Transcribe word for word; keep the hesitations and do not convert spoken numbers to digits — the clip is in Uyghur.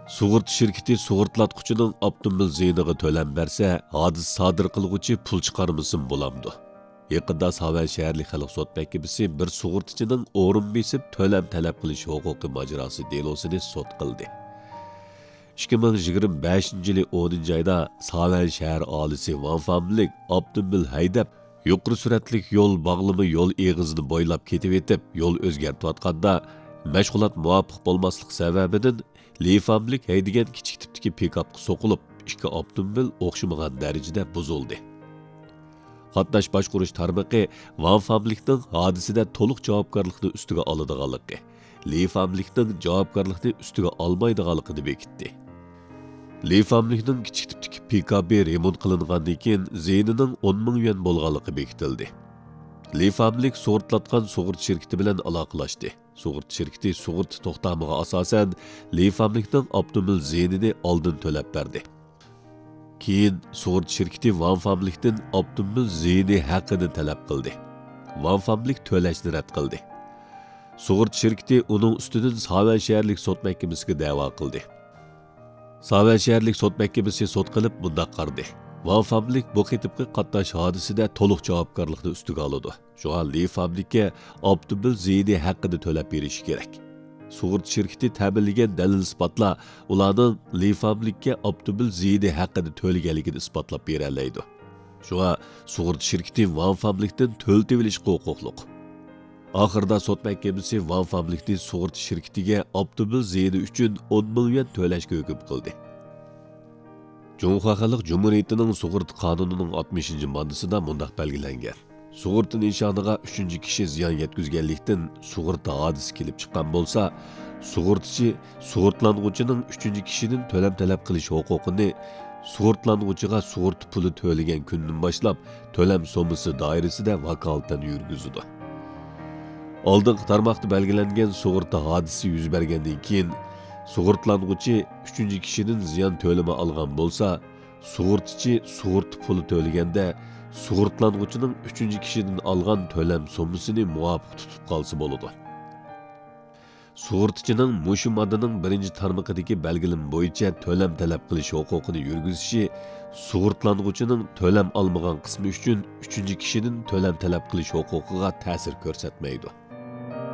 سۇغۇرتا شىركىتى سۇغۇرتلاتقۇچىنىڭ ئاپتوموبىل زىيىنىغا تۆلەم بەرسە، ھادىسە سادىر قىلغۇچى پۇل چىقارمىسىمۇ بولامدۇ؟ يېقىندا ساۋەن شەھەرلىك خەلق سوت مەھكىمىسى بىر سۇغۇرتىچىنىڭ ئورۇن بېسىپ تۆلەم تەلەپ قىلىش ھوقۇقى ماجىراسى دېلوسىنى سوت قىلدى. ئىككى مىڭ يىگىرمە بەشىنچى يىلى ئونىنچى ئايدا ساۋەن شەھەر ئاھالىسى ۋاڭ فامىلىك ئاپتوموبىل ھەيدەپ، يۇقىرى سۈرئەتلىك يول باغلىما يول ئېغىزىنى بويلاپ كېتىۋېتىپ، يول ئۆزگەرتىۋاتقاندا، مەشغۇلات مۇۋاپىق بولماسلىق سەۋەبىدىن، لى فامىلىك ھەيدىگەن كىچىك تىپتىكى پىكاپقا سوقۇلۇپ، ئىككى ئاپتوموبىل ئوخشىمىغان دەرىجىدە بۇزۇلدى. قاتناش باشقۇرۇش تارمىقى ۋاڭ فامىلىكنىڭ ھادىسىدە تولۇق جاۋابكارلىقنى ئۈستىگە ئالىدىغانلىقى، لى فامىلىكنىڭ جاۋابكارلىقنى ئۈستىگە ئالمايدىغانلىقىنى بېكىتتى. لى فامىلىكنىڭ كىچىك تىپتىكى پىكاپى رېمونت قىلىنغاندىن كېيىن زىيىنىنىڭ ئون مىڭ يۈەن بولغانلىقى بېكىتىلدى. لى فامىلىك سۇغۇرتلاتقان سۇغۇرتا شىركىتى بىلەن ئالاقىلاشتى. سۇغۇرتا شىركىتى سۇغۇرتا توختامىغا ئاساسەن، لى فامىلىكنىڭ ئاپتوموبىل زىيىنىنى ئالدىن تۆلەپ بەردى. كېيىن سۇغۇرتا شىركىتى ۋاڭ فامىلىكتىن ئاپتوموبىل زىيىنى ھەققىنى تەلەپ قىلدى. ۋاڭ فامىلىك تۆلەشنى رەت قىلدى. سۇغۇرتا شىركىتى ئۇنىڭ ئۈستىدىن ساۋەن شەھەرلىك سوت مەھكىمىسىگە دەۋا قىلدى. ساۋەن شەھەرلىك سوت مەھكىمىسى سوت قىلىپ مۇنداق قارىدى: ۋاڭ فامىلىك بۇ قېتىمقى قاتناش ھادىسىدە تولۇق جاۋابكارلىقنى ئۈستىگە ئالىدۇ. شۇڭا لى فامىلىككە ئاپتوموبىل زىيىنى ھەققىدە تۆلەپ بېرىشى كېرەك. سۇغۇرتا شىركىتى تەمىنلىگەن دەلىل-ئىسپاتلار ئۇلارنىڭ لى فامىلىككە ئاپتوموبىل زىيىنى ھەققىدە تۆلىگەنلىكىنى ئىسپاتلاپ بېرەلەيدۇ. شۇڭا سۇغۇرتا شىركىتى ۋاڭ فامىلىكتىن تۆلىتىۋېلىشقا ھوقۇقلۇق. ئاخىرىدا سوت مەھكىمىسى ۋاڭ فامىلىكنى سۇغۇرتا شىركىتىگە ئاپتوموبىل زىيىنى ئۈچۈن ئون مىڭ يۈەن تۆلەشكە ھۆكۈم قىلدى. جۇڭخۇا خەلق جۇمھۇرىيىتىنىڭ سۇغۇرتا قانۇنىنىڭ ئاتمىشىنچى ماددىسىدا مۇنداق بەلگىلەنگەن: سۇغۇرتا نىشانىغا ئۈچىنچى كىشى زىيان يەتكۈزگەنلىكتىن سۇغۇرتا ھادىسە كېلىپ چىققان بولسا، سۇغۇرتىچى سۇغۇرتىلانغۇچىنىڭ ئۈچىنچى كىشىدىن تۆلەم تەلەپ قىلىش ھوقۇقىنى سۇغۇرتىلانغۇچىغا سۇغۇرتا پۇلى تۆلىگەن كۈندىن باشلاپ تۆلەم سوممىسى دائىرىسىدە ۋاكالىتەن يۈرگۈزىدۇ. ئالدىنقى تارماقتا بەلگىلەنگەن سۇغۇرتا ھادىسىسى يۈز بەرگەندىن كېيىن، سۇغۇرتىلانغۇچى ئۈچىنچى كىشىدىن زىيان تۆلىمى ئالغان بولسا، سۇغۇرتىچى سۇغۇرتا پۇلى تۆلىگەندە، سۇغۇرتىلانغۇچىنىڭ ئۈچىنچى كىشىدىن ئالغان تۆلەم سوممىسىنى مۇۋاپىق تۇتۇپ قالسا بولىدۇ. سۇغۇرتىچىنىڭ مۇشۇ ماددىنىڭ بىرىنچى تارمىقىدىكى بەلگىلىمە بويىچە تۆلەم تەلەپ قىلىش ھوقۇقىنى يۈرگۈزۈشى سۇغۇرتىلانغۇچىنىڭ تۆلەم ئالمىغان قىسمى ئۈچۈن ئۈچىنچى كىشىدىن تۆلەم تەلەپ قىلىش ھوقۇقىغا تەسىر كۆرسەتمەيدۇ.